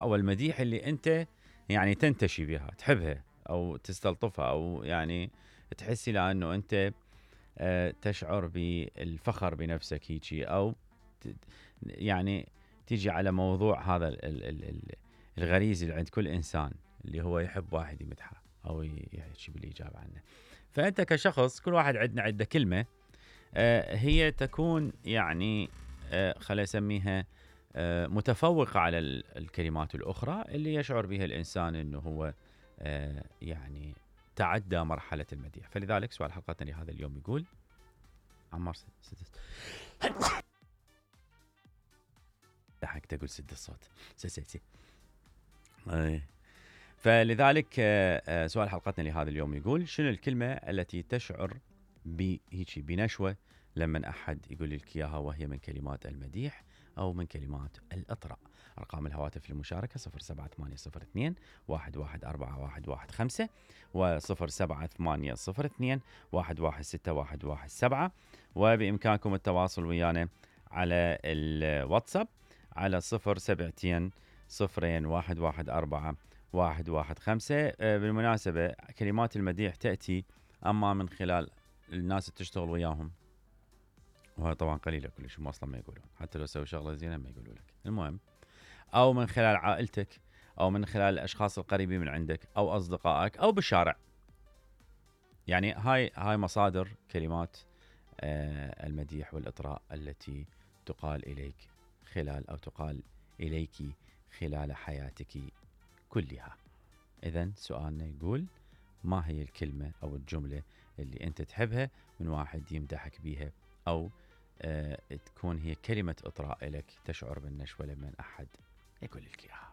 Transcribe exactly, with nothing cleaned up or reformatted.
أو المديح اللي أنت يعني تنتشي بها، تحبها أو تستلطفها، أو يعني تحس إلى أنه أنت آه، تشعر بالفخر بنفسك هيجي، أو يعني تيجي على موضوع هذا ال ال ال الغريزي اللي عند كل إنسان، اللي هو يحب واحد يمدحه أو يحكي بالإيجاب عنه. فأنت كشخص، كل واحد عندنا عنده كلمة آه، هي تكون يعني آه، خلينا نسميها آه، متفوقة على الكلمات الأخرى اللي يشعر بها الإنسان أنه هو آه، يعني تعدى مرحلة المديح. فلذلك سؤال حلقتنا لهذا اليوم يقول عمار سد ضحك تقول سد الصوت سسيتي. فلذلك سؤال حلقتنا لهذا اليوم يقول: شنو الكلمة التي تشعر بهيجي بنشوة لما أحد يقول لك إياها، وهي من كلمات المديح أو من كلمات الإطراء؟ أرقام الهواتف للمشاركة صفر سبعة ثمانية صفر اثنين واحد واحد أربعة واحد واحد خمسة وصفر سبعة ثمانية صفر اثنين واحد واحد ستة واحد واحد سبعة، وبإمكانكم التواصل ويانا على الواتساب على صفر سبعتين صفرين واحد واحد أربعة واحد واحد خمسة. بالمناسبة كلمات المديح تأتي أما من خلال الناس اللي تشتغل وياهم، وهذا طبعا قليلة كلش، هم أصلا ما يقولون، حتى لو سووا شغلة زينة ما يقولوا لك. المهم، أو من خلال عائلتك، أو من خلال الأشخاص القريبين من عندك، أو أصدقائك، أو بالشارع. يعني هاي هاي مصادر كلمات آه المديح والإطراء التي تقال إليك خلال أو تقال إليك خلال حياتك كلها. إذن سؤالنا يقول: ما هي الكلمة أو الجملة اللي أنت تحبها من واحد يمدحك بيها، أو آه تكون هي كلمة إطراء لك، تشعر بالنشوة لما أحد يقول لك إياها؟